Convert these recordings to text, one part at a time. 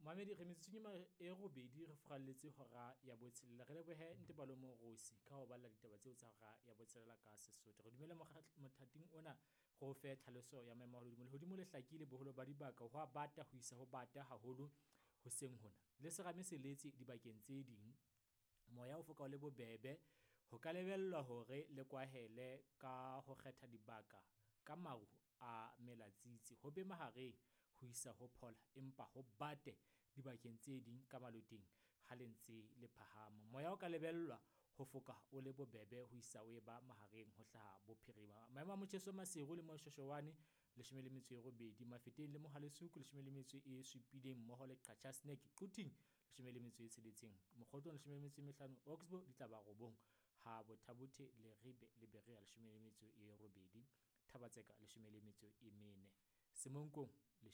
Mamedi re metsotsong e robedi re furalletse hora ya botshelela. Re lebohe Ntate Balomo Rosi ka ho balla ditaba tseo tsa hora ya botshelela ka Sesotho. Re dumele mothating ona re o fe tlhaloso ya maemo a lehodimo. Lehodimo le hlakile boholo ba dibaka ho a bata ho isa ho bata haholo hoseng hona. Le serame se letse dibakeng tse ding. Moya o foka o le bobebe. Ho ka lebellwa hore le kwahele ka ho kgetha dibaka ka maru a melatsitsi. Ho be mahareng ho isa ho phola empa ho bate dibakeng tse ding ka maloteng ha le ntse le phahama. Moya o ka lebellwa ho foka o le bobebe ho isa o e ba mahareng ho hlaha bophirima. Maemo a motjheso Maseru le Moshoeshoane 18, Mafeteng le Mohale'shoek 17 mmoho le Qacha's Nek, Quthing 16, Mokhotlong 15, Oxbow di tla ba 9, ha Botha-Bothe, Leribe le Berea 18, Thaba-Tseka 14, Semonkong 13.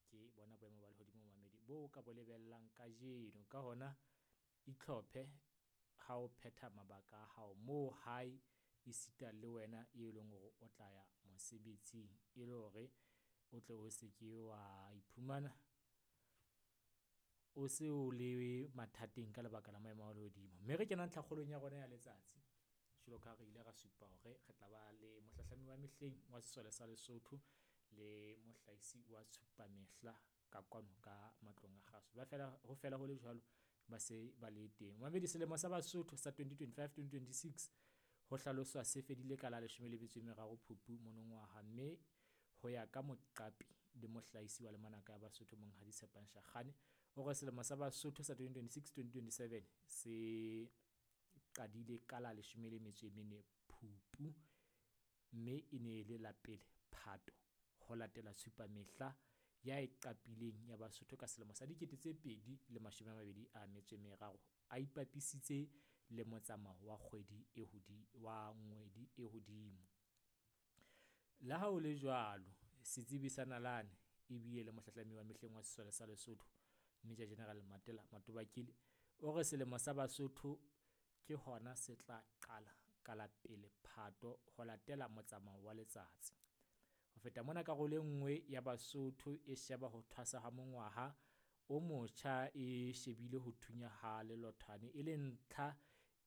Ke bona boemo ba lehodimo mamedi bo ka bo lebellang kajeno. Ka hona itlhophe ha o phetha mabaka a hao moo hae esita le wena e leng hore o tla ya mosebetsing e le hore o tle o se ke wa iphumana o se o le mathateng ka lebaka la maemo a lehodimo. Mme re kena ntlhakgolong ya rona ya letsatsi. Jwalo ka ha re ile ra supa hore re tla ba le mohlahlami wa mehleng wa sesole sa Lesotho le mohlahisi wa tshupamehla ka kwano ka matlong a kgaso. Ba fela ho fela ho le jwalo ba se ba le teng. Mamedi selemo sa Basotho sa 2025-2026 ho hlaloswa se fedile ka la 13 Phupu monongwaha, mme ho ya ka moqapi le mohlahisi wa lemanaka ya Basotho Monghadi Tshepang Shakgane o re selemo sa Basotho sa 2026-2027 se qadile ka la 14 Phupu, mme e ne e le la pele Phato ho latela tshupamehla ya e qapileng ya Basotho ka selemo sa 2023 a ipapisitse le motsamao wa kgwedi e wa ngwedi e hodimo. Le ha ho le jwalo, setsebi sa nalane ebile le mohlahlami wa mehleng wa sesole sa Lesotho Major General Matela Matobakile o re selemo sa Basotho ke hona se tla qala ka la pele Phato ho latela motsamao wa letsatsi. Ho feta mona, karolo e nngwe ya Basotho e sheba ho thwasa ha mongwaha o motjha e shebile ho thunya ha lelothwane e le ntlha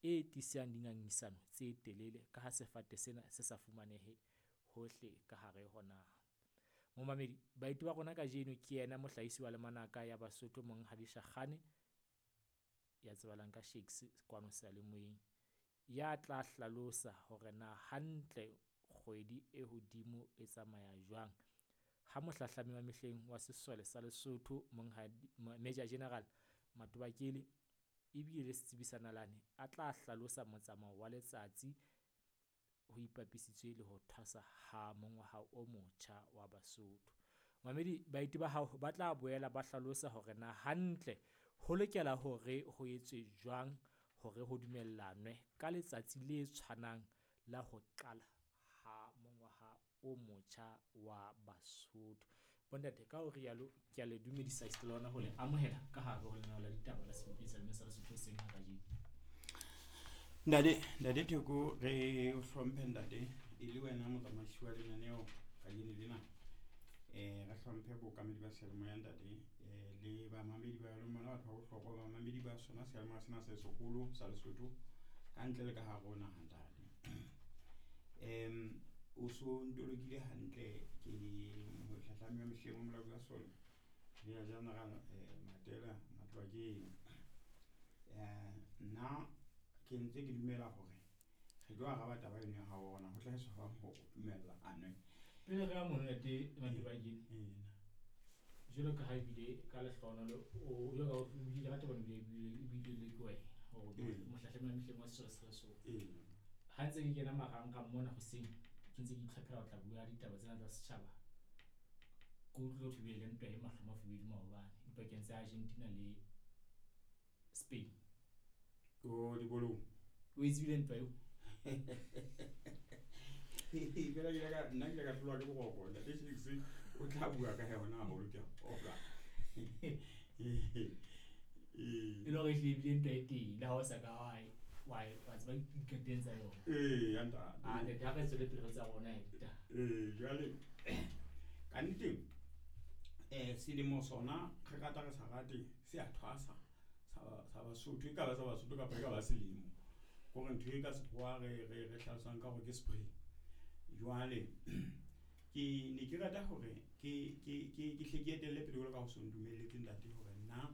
e tlisang dingangisano tse telele ka ha sefate sena se sa fumanehe hohle ka hare ho naha. Momamedi, baeti ba rona kajeno ke yena mohlahisi wa lemanaka ya Basotho Monghadi Shakgane ya tsebahalang ka Shakes kwano seyalemoyeng, ya tla hlalosa hore na hantle kgwedi e hodimo e tsamaya jwang ha mohlahlami wa mehleng wa sesole sa Lesotho Monghadi Major General Matobakele ebile le setsebi sa nalane a tla hlalosa motsamao wa letsatsi ho ipapisitswe le ho thwasa ha mongwaha o motjha wa Basotho. Mamedi, baeti ba hao ba tla boela ba hlalosa hore na hantle ho lokela hore ho etswe jwang hore ho dumellanwe ka letsatsi le tshwanang la ho qala ha mongwaha o motjha wa Basotho. Bontate, ka ho rialo ke a le dumedisa esita le hona ho le amohela ka hare ho lenaneo la ditaba la Sebopi sa Lesotho hoseng ha kajeno. Ntate, Ntate Theko, re o hlomphe ntate e le wena motsamaisi wa lenaneo kajeno lena. Re hlomphe bookamedi ba seyalemoya ntate, le bamamedi ba lona batho ba bohlokwa, bamamedi ba sona seyalemoya sena se seholo sa Lesotho ka ntle le ka hare ho naha ntate. O so ntolokile hantle ke mohlahlami wa mehleng wa molaodi wa sole Major General Matela Matobakele. Nna ke ntse ke dumela hore re tlo araba taba eno ya hao hore na ho hlahiswa jwang ho dumellanwe. Pele re ya mono ntate Matobakele, jwalo ka ha ebile ka lehlohonolo o jwalo ka o buile ka taba ebile ebile le ke wena hore mohlahlami wa mehleng wa sesole sa Lesotho. Ha ntse ke kena marangrang mona hoseng ke ntse ke itlhophela ho tla bua ditaba tsena tsa setjhaba, ke utlwile ho thwe bile le ntwa e mahlo mafubedu maobane dipakeng tsa Argentina le Spain. O dikolong. O e tsebile ntwa eo? Fela ke ile ka nna ke ile ka hlolwa ke boroko ntate Shakes o tla bua ka yona haholo ke a kgolwa. E le hore ehlile ebile ntwa e teng le ha o sa ka wa tseba dikateng tsa yona. Ee, ya ntate. Ah, ntate, ha re tswele pele re tsa rona he ditaba. Ee, jwale ka nnete Selemo sona re rata re sa rate se a thwasa sa Basotho, e ka ba sa Basotho kapa e ka ba selemo. Kore ntho e ka sekgowa re hlalosang ka hore ke spring. Jwale ke ne ke rata hore ke hle ke etelle pele jwalo ka ho so ntumelletse ntate hore nna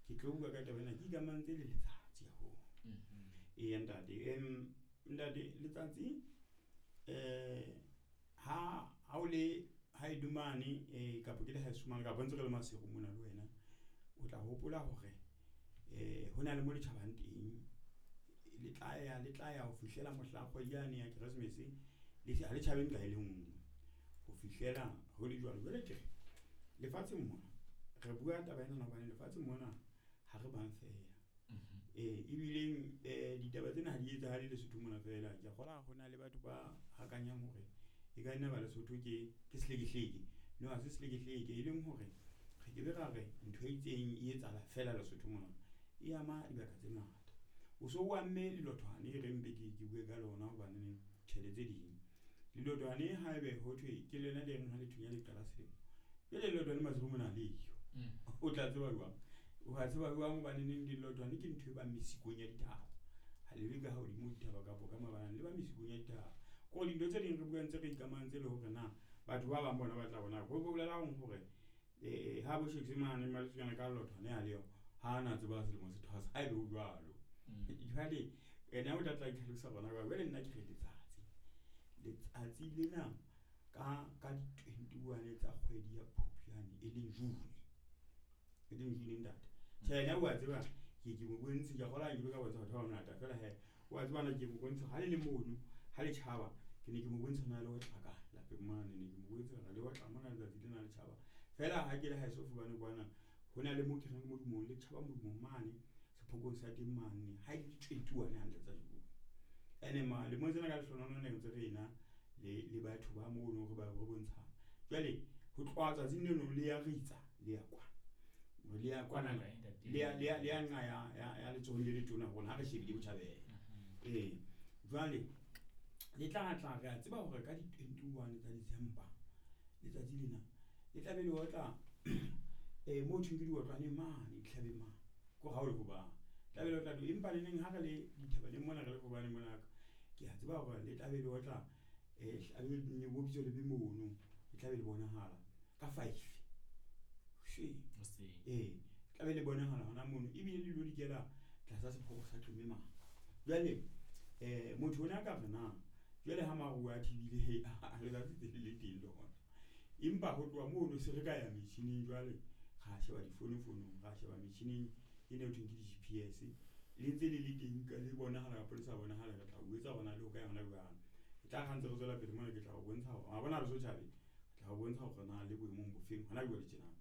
ke tlo bua ka taba ena ke ikamantse le letsatsi haholo. Eya ntate, ntate letsatsi ha o le ha e dumane kapa ke le haeso mane kapa ntse re le Maseru mona le wena, o tla hopola hore hona le mo le tjhabang teng. Le tla ya ho fihlela mohla kgwedi yane ya Keresemese le ha le tjhabe nqa e le nngwe ho fihlela ho le jwalo. Jwale ke re lefatsheng mona re bua taba ena hobane lefatsheng mona ha re bang fela. Ebileng ditaba tsena ha di etsahale Lesotho mona fela. Ke a kgolwa ho na le batho ba hakanyang hore e ka nna ba Lesotho ke sehlekehleke. No, ha se sehlekehleke, e leng hore re ke be ra re ntho e itseng e etsahala fela Lesotho mona. E ama dibaka tse ngata. O so o amme lelothwane e re mpe ke bue ka lona hobane tjhe tse ding. Lelothwane haebe ho thwe ke lona le reng ha le thunya le qala selemo. Jwale lelothwane Maseru mona ha leyo. O tla tseba jwang? O a tseba jwang hobane neng lelothwane ke ntho e bang mesikong ya dithaba. Ha le be ka hodimo dithaba kapa ka mabalane, le ba mesikong ya dithaba. Kore dintho tse ding re bua ntse re ikamahantse le hore na batho ba bang bona ba tla bona. Ho bolela hore ha bo Shakes mane Maletsonyana ka lelothwane ha leyo, ha na tseba selemo se thwasa, ha ebe ho jwalo. Jwale ena o tla tla itlhalosa rona jwale. Jwale nna ke re letsatsi. Letsatsi lena ka di-21 tsa kgwedi ya Phupjane e leng June. E leng June ntate. Tjhe, yena o a tseba ke mo bontshe, ke a kgolwa ke ka bontsha batho ba bangata fela he. O a tseba na ke mo bontshe ha le le mono, ha le tjhaba, ke ne ke mo bontsha na le ho tla ka lapeng mane, ne ke mo bontsha hore le otla mona letsatsi lena le tjhaba. Fela ha ke le haeso hobane kwana ho na le mo ke reng modumong le tjhaba modumong mane sephokong sa teng mane ha e le 21 hantle tsa June. Ene ma le mo tsena ka lehlohonolo ne ntse re ena le batho ba mono re ba re bontshana. Jwale ho tloha tsatsing leno le ya ritsa le ya kwana. Le ya kwana le ya nqa ya letsohong le letona rona ha re shebile botjhabela. Jwale le tla tla re a tseba hore ka di-21 tsa December letsatsi lena le tla be le otla mo thweng ke diotlwane mane ditlhabeng mane ko ha o le hobane tla be le otla empa le neng ha re le dithabaneng mona re le hobane mona ke a tseba hore le tla be le otla bo bitso le be mono le tla be le bonahala ka 5 hoseng. Tla be le bonahala hona mono ebile le lo dikela tlasa sephoko sa Qeme mane. Jwale motho ona ka re na jwale ha maru a thibile letsatsi tse le teng le hona. Empa ho tloha mono se re ka ya metjhining jwale ra sheba difonofonong, ra sheba metjhining e ne ho thweng ke di-GPS. Le ntse le le teng ka le bonahala kapa le sa bonahala, re tla o etsa hore na le ho kae hona jwang. E tla re ha ntse re tswela pele mona ke tla o bontsha hore wa bona re so tjhabe, ke tla o bontsha hore na le boemong bofeng hona jwale tjena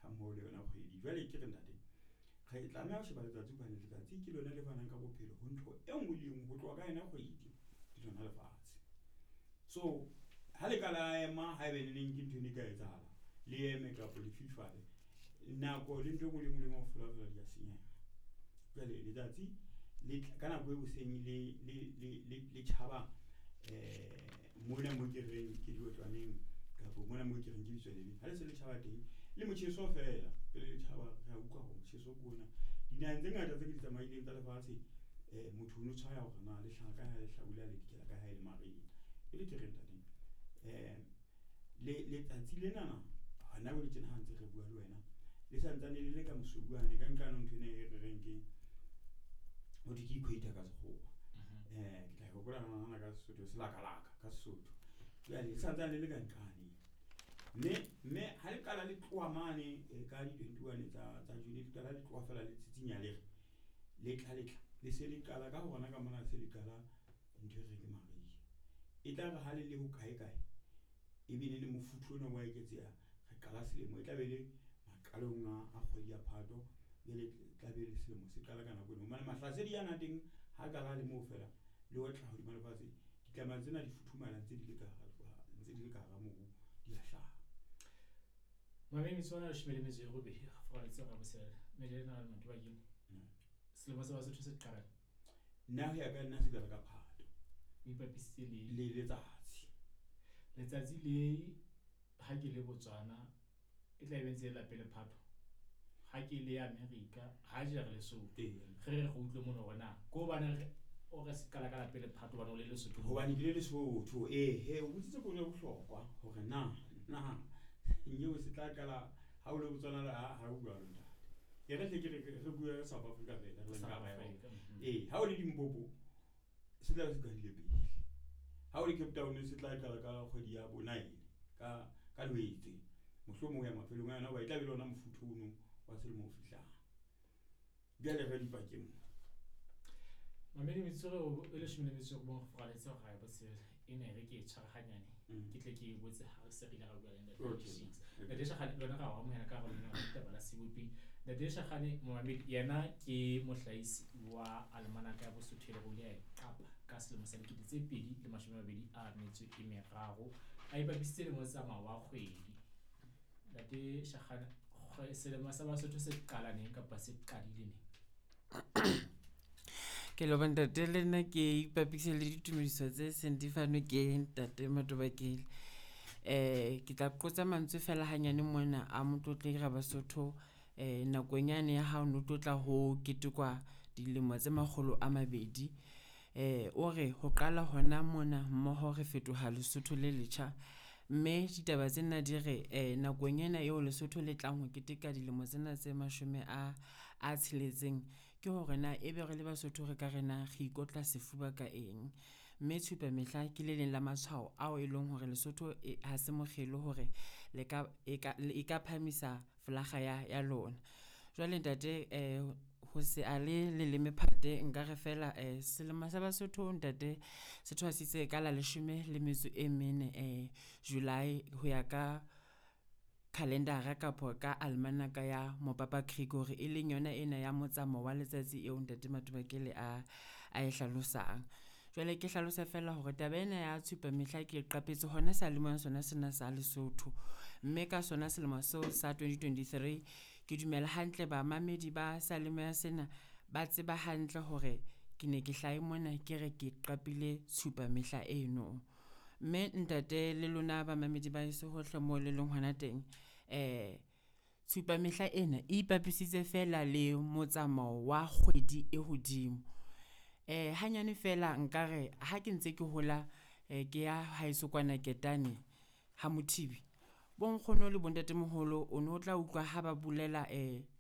ha mmoho le yona kgwedi. Jwale ke re ntate, re tlameha ho sheba letsatsi hobane letsatsi ke lona le fanang ka bophelo ho ntho e nngwe le e nngwe ho tloha ka yona kgwedi le lona lefatshe. So ha le ka la ema haebe le neng ke ntho e ne ka etsahala, le eme kapa le fifale, nako le ntho e nngwe le e nngwe le kaofela fela di a senyeha. Jwale letsatsi le ka nako e hoseng le tjhaba mona mo ke reng ke diotlwaneng kapa mona mo ke reng ke Bitswalebe. Ha le se le tjhaba teng le motjheso fela pele le tjhaba re a utlwa hore motjheso ke ona. Dinaheng tse ngata tse ke di tsamaileng tsa lefatshe motho o no tshwaya hore na le hlaha kae ha le hlabula le dikela kae ha e le mariha. Jwale ke re ntate letsatsi lenana hona jwale tjena ha ntse re bua le wena le santsane le le ka mosuwane ka nqane ntho ena e re reng ke ho thwe ke equator ka sekgowa. Ke tla e hopola hona ka Sesotho selakalaka ka Sesotho. Jwale le santsane le le ka nqane. Mme ha le qala le tloha mane ka di-21 tsa June le qala le tloha fela le tsitsinya le re le tla le se le qala ka hona ka mona se le qala ntho e re ke mariha. E tla re ha le le ho kae kae e be le mofuthu ona wa eketseha re qala selemo e tla be le maqalong a kgwedi ya Phato jwale tla be le selemo se qala ka nako eno. Hobane mahlasedi ana teng ha qala le moo fela le otla hodima lefatshe ditlama tsena di futhumala ntse di le ka ntse di le ka hara mobu di a hlaha. Mameng tsona 18 fa tse ga bosela mele na le motho ba keng. Selemo sa Basotho se qala. Nna ho ya ka nna se qala ka Phato. O ipapisitse le letsatsi. Letsatsi le ha ke le Botswana E tla be ntse e la pele Phato. Ha ke le America, ha jere Lesotho. Ee. Re utlwe mono hore na ke hobane o re se qala ka la pele Phato hobane o le Lesotho. Hobane ke le Lesotho. Ee he, o botsitse potso ya bohlokwa hore na nyeo se tla qala ha o le Botswana ha o jwalo ntate. E re hle ke re bue South Africa fela, re South nka ba yona. Africa. Ee, ha o le Limpopo se tla be se qadile pele. Ha o le Cape Town se tla qala ka kgwedi ya bo 9 ka Lwetse. Mohlomong ho ya mafelong a yona hoba e tla be le ona mofuthu ono wa selemo o fihlang. Bjale re dipakeng mo. Mamedi metsotso e leshome le metso e robong re furaletse hora ya botshelela. E ne re ke e tshware hanyane. Ke tle ke e botse ha re se re ile ra bua le Ntate Shakes. Ntate Shakgane le wena ra o amohela ka hare ho lenaneo la ditaba la Sebopi. Ntate Shakgane momamedi yena ke mohlahisi wa almanaka ya Bosotho e leng hore o ile a e qapa ka selemo sa 2023. A ipapisitse le motsamao wa kgwedi. Ntate Shakgane, selemo sa Basotho se qala neng kapa se qadile neng? Ke leboha ntate, le nna ke ipapise le ditumediso tse seng di fanwe ke ntate Matobakele. Ke tla qotsa mantswe fela hanyane mona a motlotlehi Rabasotho nakong yane ya ha o no tlotla ho ketekwa dilemo tse makgolo a mabedi. O re ho qala hona mona mmoho re fetoha Lesotho le letjha. Mme ditaba tsena di re nakong ena eo Lesotho le tlang ho keteka dilemo tsena tse mashome a tsheletseng. Ke hore na ebe re le Basotho re ka re na re ikotla sefuba ka eng? Mme tshupa mehla ke le leng la matshwao ao e leng hore Lesotho e, ha se mokgelo hore le ka, e ka, e ka phahamisa folakga ya lona. Jwale ntate ho se a le leleme phate nka re fela selemo sa Basotho ntate se thwasitse ka la leshome le metso e mene July ho ya ka calendar-a kapo ka almanaka ya Mopapa Gregory e leng yona ena ya motsamao wa letsatsi eo ntate Matobakele a e hlalosang. Jwale ke hlalosa fela hore taba ena ya tshupa mehla ke e qapetse hona seyalemoyeng sona sena sa Lesotho. Mme ka sona selemo seo sa 2023, ke dumela hantle bamamedi ba seyalemoya sena ba tseba hantle hore ke ne ke hlahe mona ke re ke qapile tshupa mehla eno. Mme ntate le lona bamamedi ba heso hohle moo le leng hona teng, tshupa mehla ena e ipapisitse feela le motsamao wa kgwedi e hodimo. Hanyane feela nkare ha ke ntse ke hola ke ya haeso kwana Ketane ha Mothibi, bo nkgono le bo ntatemoholo o no tla utlwa ha ba bolela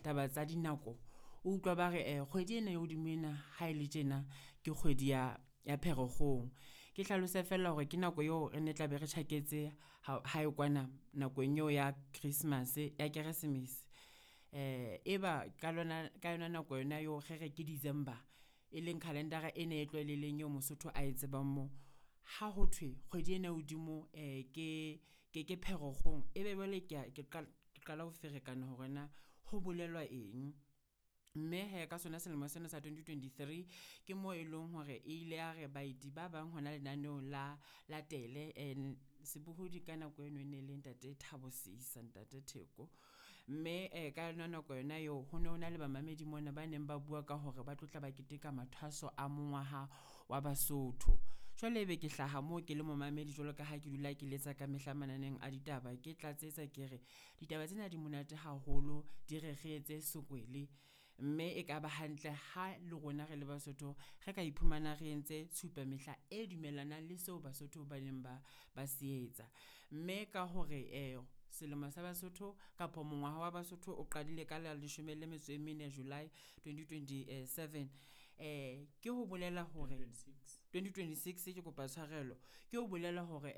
taba tsa dinako. O utlwa ba re kgwedi ena e hodimo ena ha e le tjena ke kgwedi ya Pherekgong. Ke hlalose feela hore ke nako eo re ne tla be re tjhaketse hae kwana nakong eo ya Christmas, ya Keresemese. Eba ka lona, ka yona nako yona eo re re ke December, e leng calendar-a ena e tlwaelehileng eo Mosotho ae tsebang moo. Ha ho thwe kgwedi ena e hodimo ke Pherekgong, ebe jwale ke a, ke qala ho ferekana hore na ho bolelwa eng. Mme hee ka sona selemo sena sa 2023, ke moo e leng hore e ile ya re baeti ba bang hona lenaneong la tele sebohodi ka nako eno e ne le ntate Thabo Seisa, ntate Theko. Mme ka yona nako yona eo ho no na le bamamedi mona ba neng ba bua ka hore ba tlotla ba keteka mathwaso a mongwaha wa Basotho. Jwale ebe ke hlaha moo ke le momamedi jwalo ka ha ke dula ke letsa ka mehla mananeng a ditaba, ke tlatsetsa ke re ditaba tsena di monate haholo, di re re etse sekwele. Mme e ka ba hantle ha le rona re le Basotho re ka iphumana re entse tshupa mehla e dumellanang le seo Basotho ba neng ba se etsa. Mme ka hore selemo sa Basotho kapo mongwaha wa Basotho o qadile ka la leshome le metso e mene July 2027. Ke ho bolela hore 2026. 2026 ke kopa tshwarelo, ke ho bolela hore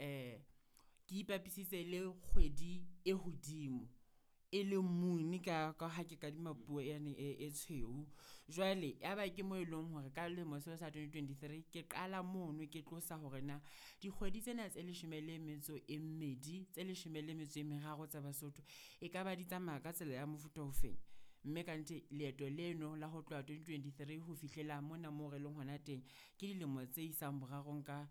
ke ipapisitse le kgwedi e hodimo, e leng moon ka ha ke kadima puo yane e tshweu. Jwale ya ba ke moo eleng hore ka lemo seo sa 2023 ke qala mono ke tlosa hore na dikgwedi tsena tse leshome le metso e mmedi, tse leshome le metso e meraro tsa Basotho e ka ba di tsamaya ka tsela ya mofuta o feng. Mme kannete leeto leno la ho tloha 2023 ho fihlela mona moo re leng hona teng, ke dilemo tse isang borarong ka.